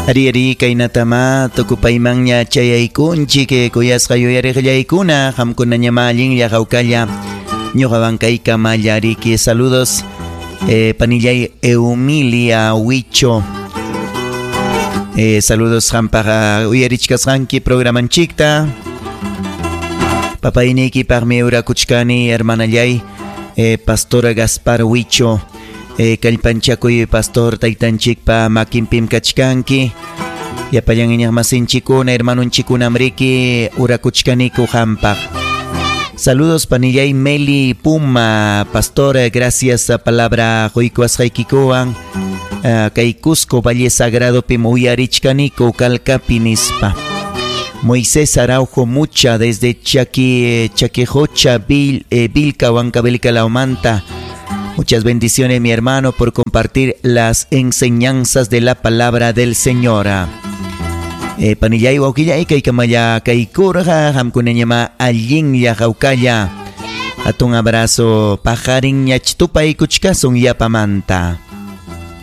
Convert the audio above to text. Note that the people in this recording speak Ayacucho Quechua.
Ari ari kaynatama tukupaymanña chayaykunchik eh, kuyasqa yuyariqllaykuna qamkunañamá allinlla hawkalla ñuqawan kaykamalla riki saludos eh, panillay Eumilia Huicho eh, saludos qampaq uyarichkasqanki programanchikta papayniykipaqmi urakuchkani hermanallay eh, pastora Gaspar Huicho eh, kallpanchakuy pastor taytanchikpa makinpim kachkanki llapallan iñiqmasinchikkuna hermanunchikkunam riki urakuchkaniku qampaq Saludos panillay Meli Puma, pastor, gracias a palabra quykuwasqaykikuwan uh, kay Cusco Valle Sagrado uyarichkaniku Calcapi nispa. Moisés Araujo Mucha desde Chaqui, Chaquijocha, Vil, Vilca, Huancavelica, Laumanta. Muchas bendiciones, mi hermano, por compartir las enseñanzas de la palabra del Señor. Eh, panillay wawqillay kaykamalla kaykurqa qamkunañamá allinlla hawkalla. Hatun abrazo paqarinñach tupaykuchkasun yapamanta.